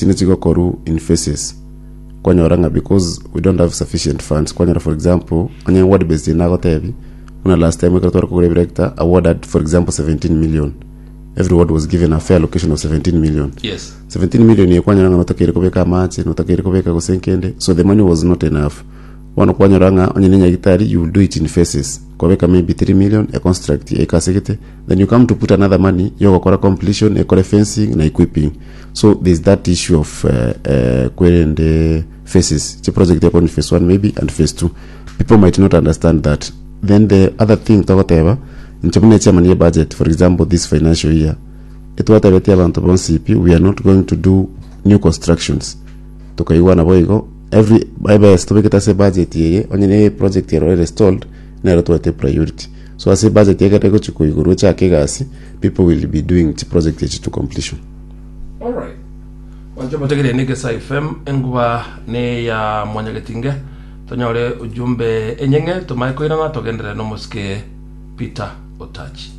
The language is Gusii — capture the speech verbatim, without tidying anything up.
chinde chigokorwa in phases kwanyora ng'a because we don't have sufficient funds kwanyora for example onye ward based nagotebi buna last time ekero tware kogora ebirekta a ward had for example seventeen million every ward was given a fair allocation of seventeen million yes seventeen million ye kwanyora ng'a notakeire kobeka amache notakeire kobeka gose nkende so the money was not enough bono kwanyora ng'a onye ne nyagitari you will do it in phases kwabeka maybe three million e construct ekasegete then you come to put another money yogokora completion ekore fencing na equipping so there's that issue of uh, uh, kwerende phases chi project yako ni phase one maybe and phase two people might not understand that then the other thing togoteba inche buna chairman ye budget for example this financial year etwatebetie abanto bonsi pi we are not going to do new constructions tukaigwana boigo every ebes tobekete ase budget eye onye ne project ero ere stalled nero twete priority so ase budget ekere gochi koigorwa echake egasi people will be doing chi project echi to completion Alright. Wancho motegere ni Gesa F M enguba ne ya mwanyagetinge tonyore ujumbe enyenge tumae koirana togenderere nomosike Peter Otachi.